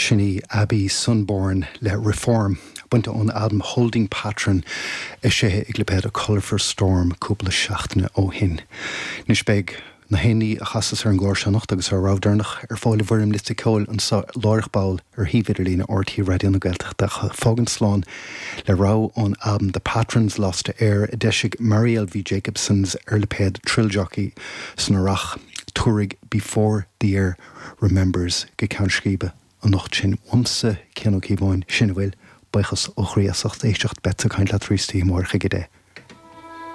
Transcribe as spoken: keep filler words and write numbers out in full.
Sin í Abby Sunborn le Reform, bainte ón albam Holding Pattern eisithe ag lipéad A Colourful Storm cúpla seachtain ó shin. Anois beidh na haon a chasas ar an gclár seo anocht agus ar rogha deireanach ar fáil i bhfoirm liosta ceoil anseo láithreach ball ar shuíomh idirlín R T Raidió na Gaeltachta. Fágaim slán le rogha ón albam The Patrons Lost Heir a d'eisigh Marielle V. Jacobsons ar lipéad Trill Jockey san earrach. Tabharfaidh Before the Air Remembers go ceann scríbe anocht sinn. Uaimse Cian Ó Cíobháin, sin a bhfuil, buíochas ó chroí as ucht éisteacht. Beidh caint leat arís amárach ag a deich.